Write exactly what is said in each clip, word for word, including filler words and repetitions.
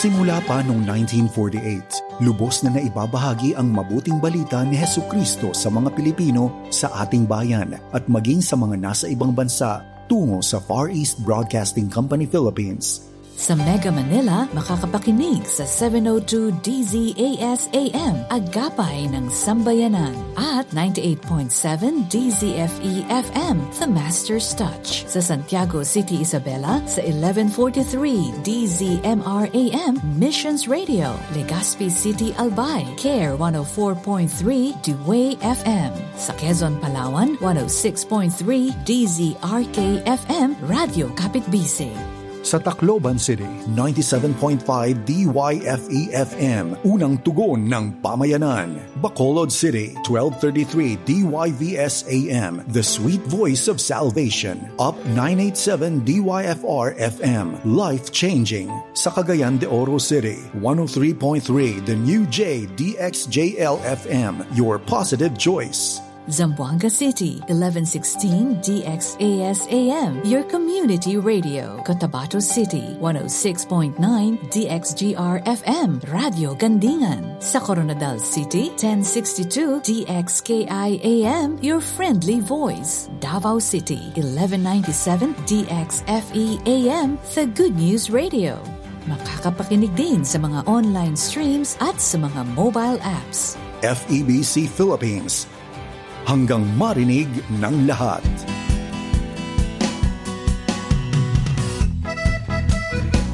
Simula pa noong nineteen forty-eight, lubos na naibabahagi ang mabuting balita ni Jesucristo sa mga Pilipino sa ating bayan at maging sa mga nasa ibang bansa tungo sa Far East Broadcasting Company Philippines. Sa Mega Manila, makakapakinig sa seven oh two D Z A S A M, Agapay ng Sambayanan, at ninety-eight point seven D Z F E F M, The Master's Touch. Sa Santiago City, Isabela, sa eleven forty-three D Z M R A M, Missions Radio, Legazpi City, Albay, Care one oh four point three, Dway F M. Sa Quezon, Palawan, one oh six point three D Z R K F M, Radyo Kapitbisig. Sa Tacloban City, ninety-seven point five D Y F E F M, unang tugon ng pamayanan. Bacolod City, twelve thirty-three D Y V S A M, the sweet voice of salvation. Up nine eight seven D Y F R F M, life-changing. Sa Cagayan de Oro City, one oh three point three The New J D X J L F M, your positive choice. Zamboanga City, eleven sixteen D X A S A M, your community radio. Cotabato City, one oh six point nine D X G R F M, Radyo Gandingan. Sa Koronadal City, ten sixty-two D X K I A M, your friendly voice. Davao City, eleven ninety-seven D X F E A M, the Good News Radio. Makakapakinig din sa mga online streams at sa mga mobile apps. F E B C Philippines, hanggang marinig ng lahat.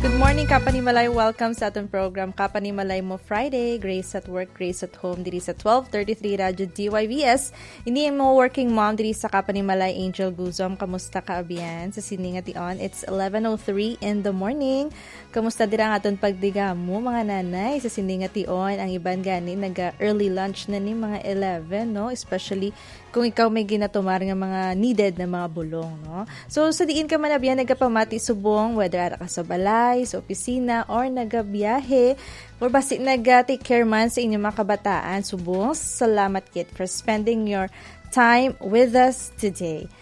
Good morning, Kapanimalay. Welcome sa aton program, Kapanimalay Mo Friday, Grace at Work, Grace at Home, diri sa twelve thirty-three Radyo D Y V S. Ini ang mga working mom diri sa Kapanimalay, Angel Guzom. Kamusta ka, Abian? Sa sini nga tion, it's eleven oh three in the morning. Kamusta dira ang aton pagdigamo, mga nanay? Sa sini nga tion, ang iban gani naga-early lunch na ni mga eleven, no? Especially kung ikaw may ginatumar nga mga needed na mga bulong, no? So, sa diin ka man, Abian, nagapamati subong, whether ara ka sa balay, sa opisina, or nagabiyahe, or basi naga-take care man sa inyong mga kabataan, subong, salamat gid for spending your time with us today.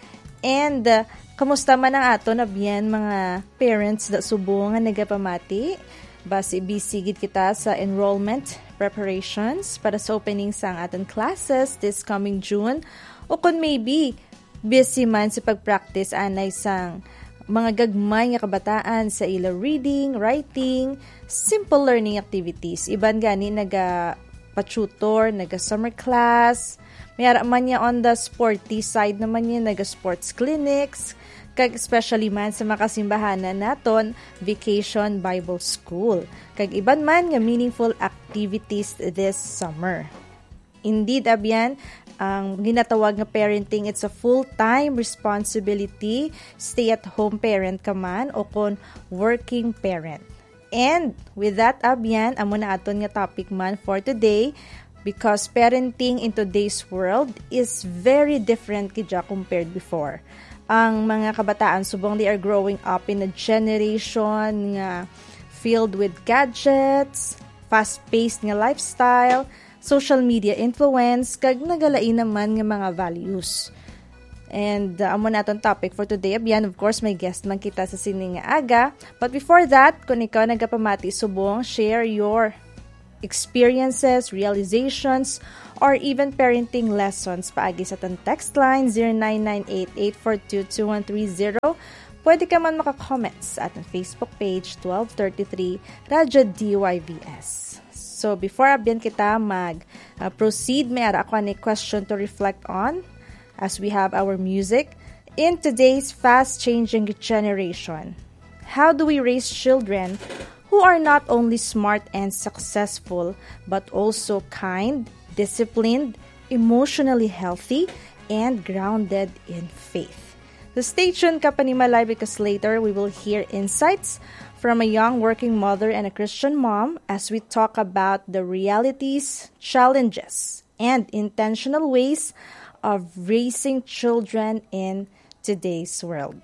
And, uh, kamusta man ang aton, Abian, mga parents da subong nga nagapamati? Basi busy gid kita sa enrollment preparations para sa opening sang aton classes this coming June. O kon maybe, busy man sa pag-practice anay sang mga gagmay nga kabataan sa ila reading, writing, simple learning activities. Iban gani naga pa-tutor, naga-summer class. May ara man niya on the sporty side naman niya, naga-sports clinics, kag especially man sa makasimbahanan naton, Vacation Bible School, kag iban man nga meaningful activities this summer. Indeed, Abian, ang ginatawag nga parenting, it's a full-time responsibility, stay-at-home parent ka man o kon working parent. And with that, Abian, amo na aton nga topic man for today, because parenting in today's world is very different gid siya compared before. Ang mga kabataan, subong, they are growing up in a generation nga filled with gadgets, fast-paced nga lifestyle, social media influence, kag nagalain naman nga mga values. And, uh, amo na atong topic for today. Abian, of course, may guest man kita sa sini nga aga. But before that, kung ikaw nagapamati subong, share your experiences, realizations, or even parenting lessons paagi sa atong text line, zero nine nine eight eight four two two one three zero. Pwede ka man maka-comment sa atong Facebook page, twelve thirty-three Radyo D Y V S. So, before, Abian, kita mag, uh, proceed, may ara ako ani question to reflect on as we have our music. In today's fast-changing generation, how do we raise children who are not only smart and successful, but also kind, disciplined, emotionally healthy, and grounded in faith? So stay tuned, Kapanimalay, because later we will hear insights from a young working mother and a Christian mom as we talk about the realities, challenges, and intentional ways of raising children in today's world.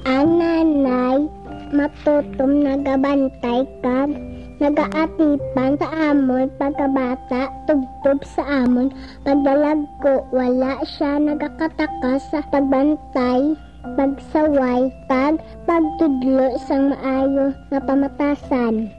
Ang nanay, matutom nagabantay kag Nagaatipan sa amon pagkabata, tubtob sa amon pagdalagko, wala sia nagakatakas sa pagbantay, pagsaway, kag pagtudlo sang maayo nga pamatasan.